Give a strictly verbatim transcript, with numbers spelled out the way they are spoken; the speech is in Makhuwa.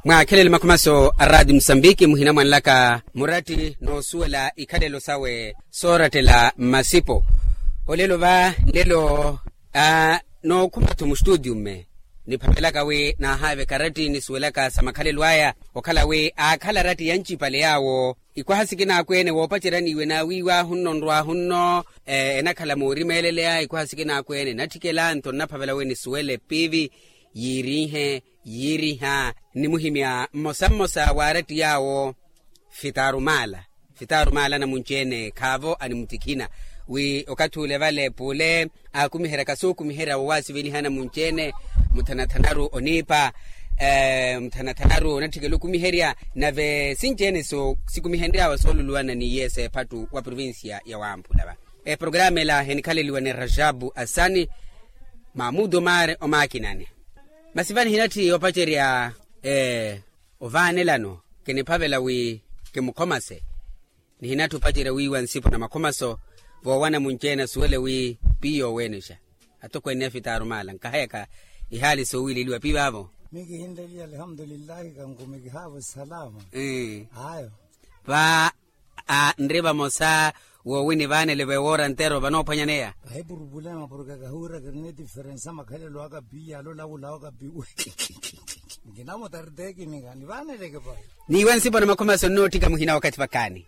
Mwaakhelele makhomaso a raati musambiki muhina mwanlaka muratti n'usuwela ikhalelo sawe soorattela mmasipo. Olelo va nlelo a n'okhuma-tho mustuudiyu mme niphavelaka wi naahaaveka ratti nisuwelaka sa makhalelo aya okhala wi aakhala ratti yancipale yaawo ikwaha sikinaakwene woopacerya niiwe naawiiwahu nno nrwahu nno enakhala moorimeeleleya ikwaha sikinaakwene natthikela nto nnaphavela wi nisuwele piivi yiirinhe yiiriha nnimuhimya mmosa mmosa waaratti yaawo fitaaru maala fitaaru maala namunci-ene khaavo animutikhina wi okathi ule vale pule aakumiheryaka sookumiherya wowaasiveliha namunci-ene muthanathanaru oniipa muthanathanaru onatthikela okumiherya nave sinci-ene sikumihenry'awe sooluluwana n'iye s'ephattu wa provincia ya wamphula va eprograma ela enikhaleliwa ni rajabu asani mamudu maari omaakinani masi va nihinatthi opacerya ovaanelano kiniphavela wi kimukhomase nihinatthi opacerya wiiwa nsipo na makhomaso voowana munci-ene asuwele wi piiyo oweenexa atokweene ya fitaaru maala nkahayaka ihaali soowileliwa piivaavo mikihinleliya alhamdulillahi kankumikihaavo salama ayo va nri vamosa woowini vaanele vewoora ntero vanoophwanyaneya vahipurupulema porke kahuwira kirina etiferensa makhalelo aka pi yalola wula waka pi nkinamutaritekinika nivaaneleke pa niiwe nsipo na makhomaso nnootthika muhina wakathi vakaani